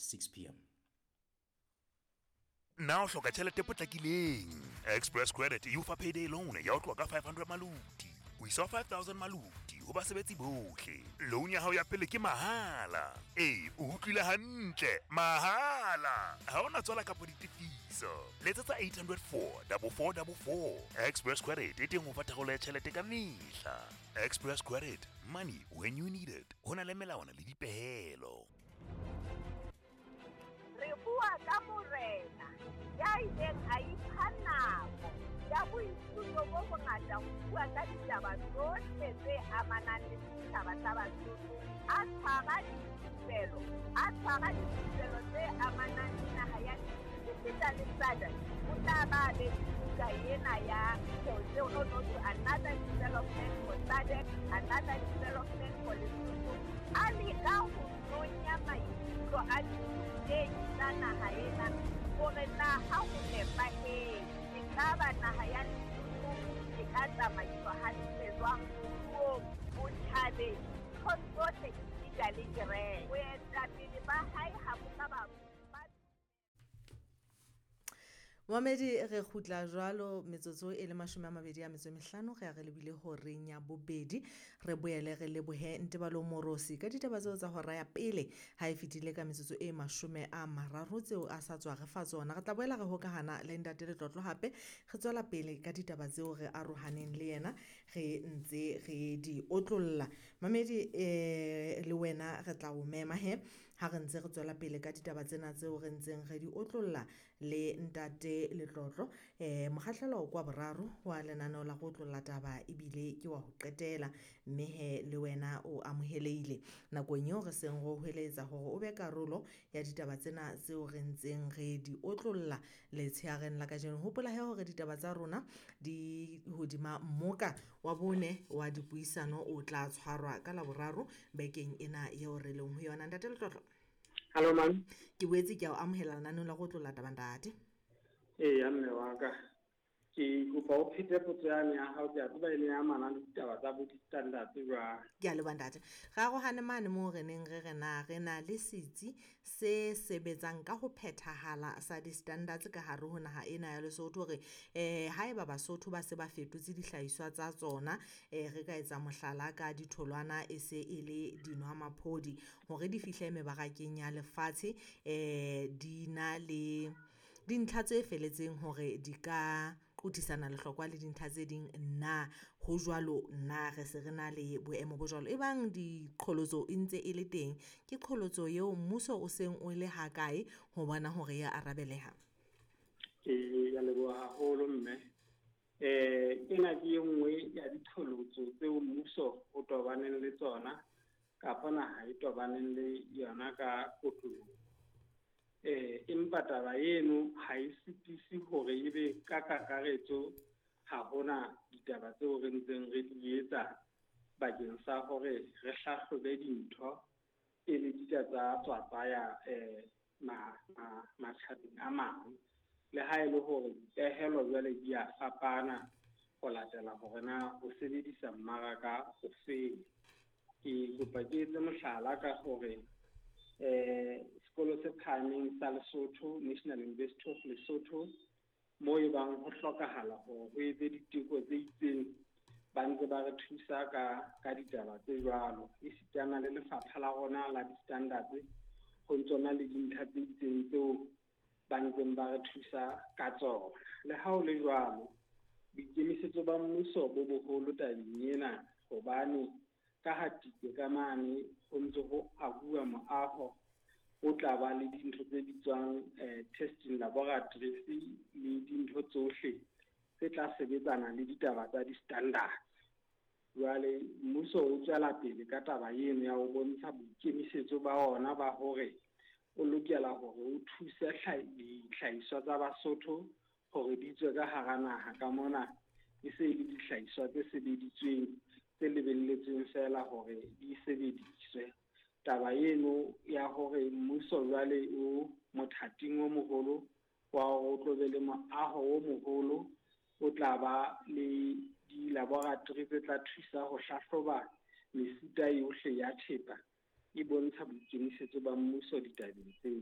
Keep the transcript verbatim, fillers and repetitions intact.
six p m. Na o hloka tjhelete e potlakileng? Express Credit e o fa payday loan ya ho tloha ka five hundred maluti ho isa ho five thousand maluti ho basebetsi bohle. Loan ya hao ya pele ke mahala. Ee, o utlwile hantle, mahala. Ha hona tswala kapa ditefiso. Letsetsa eight hundred four double four double four. Express Credit e teng ho fa tharollo ya tjhelete ka mehla. Express Credit, money when you need it. Ho na le melawana le dipehelo. Re bua ka morena ya ileng a ipha nako ya boithuto bo bongata ho bua ka ditaba tsohle tse amanang le setjhaba sa Basotho, a tshwara dithupelo, a tshwara dithupelo tse amanang le naha ya esita le S A D C. O tla ba be le buka ena ya Tseo no no to another development for S A D C, another development for Lesotho. A leka ho nonya maikutlo a dithutehi tsa naha ena hore na ha ho nepahetse, ekaba naha ya Lesotho e ka tsamaiswa hantle jwang moruong, botjhabeng, nthong tsohle esita le kereke. Boetapele ba hae ha bo ka ba Momedi re kgutla jwalo metsotso e le mashome a mabedi a metso e mehlano re a re lebile horeng ya bobedi. Re boele re lebohe Ntebalo Morosi ka ditaba tseo tsa hora ya pele ha e fetile ka metsotso e mashome a mararo tseo a sa tswa re fa tsona. Re tla boela re hokahana le Ntate Letlotlo hape re tswela pele ka ditaba tseo re arohaneng le yena re ntse re di otlolla. Mamedi, eh, le wena re tla o mema he ha re ntse re tswela pele ka ditaba tsena tseo re ntseng re di otlolla le Ntate Letlotlo. Eh, mokgahlelo kwa boraro wa lenaneo la go otlolla taba ebile ke wa ho qetela, mme he le wena o amohelehile nakong eo re seng re o hweletsa hore o be karolo ya ditaba tsena tseo re ntseng re di otlolla letsheareng la kajeno. Hopola he hore ditaba tsa rona di hodima mmoka wa bone wa dipuisano o tla tshwarwa ka Laboraro bekeng ena eo re leng ho yona. Ntate Letlotlo. Hello, ma'am. Ke boetse ke a o amohela lenaneong la go otlolla taba, ntate. Ee, mme wa ka. Ke kopa o phete potso yane ya hao, ke a tseba e ne e amana le ditaba tsa bo di-standards jwang. Ke a leboha ntate. Re arohane mane moo re neng re re na re na le setsi se sebetsang ka ho phethahala sa di-standards ka hare ho naha ena ya Lesotho hore, eh, haeba Basotho ba se ba fetotse dihlahiswa tsa tsona, eh, re ka etsa mohlala ka ditholwana e se e le dinwamaphodi hore di fihle mebarakeng ya lefatshe, eh, di na le dintlha tse feletseng hore di ka qothisana lehlokwa le dintlha tse ding. Na ho jwalo? Na re se re na le boemo bo jwalo? Ebang diqholotso e ntse e le teng, ke qholotso eo mmuso o seng o le hakae ho bona hore ya arabeleha? Ke a leboha haholo mme. Eh, ena ke e nngwe ya diqholotso tseo mmuso o tobaneng le tsona kapa naha e tobaneng le yona ka kotloloho. Eh, empa taba eno ha e sitise hore ebe ka kakaretso ha hona ditaba tseo re ntseng re di etsa bakeng sa hore re hlahlobe dintho pele di ka tsa tswa tsaya, eh, ma-, ma-, matjhabeng a mang. Le ha e le hore dipehelo jwale di a fapana ho latela hore na o sebedisa mmaraka o feng. Ke kopa ke etse mohlala ka hore, eh, sekolo se phahameng sa Lesotho, National University of Lesotho, moo e bang ho hlokahala hore ho etse diteko tse itseng, ba ntse ba re thusa ka, ka ditaba tse jwalo. Esitana le lefapha la rona la di-standards, ho ntso na le dintlha tse itseng tseo ba ntseng ba re thusa ka tsona. Le ha ho le jwalo, boikemisetso ba mmuso bo boholo tabeng ena, hobane ka ha Tike ka mane ho ntse ho ahuwa moaho o tla ba le dintho tse bitswang, eh, testing laboratories le dintho tsohle tse tla sebetsana le ditaba tsa di-standards. Jwale mmuso o tswela pele ka taba eno ya ho bontsha boikemisetso ba ona ba hore o lokela hore o thuse tlha-, dihlahiswa tsa Basotho hore di tswe ka hara naha ka mona, e se e le dihlahiswa tse sebeditsweng tse lebelletsweng feela hore di sebediswe. Taba eno ya hore mmuso jwale o mothating o moholo wa hore o tlo be le moaho o moholo o tla ba le di-laboratory tse tla thusa ho hlahloba mefuta yohle ya thepa, e bontsha boikemisetso ba mmuso ditabeng tseo.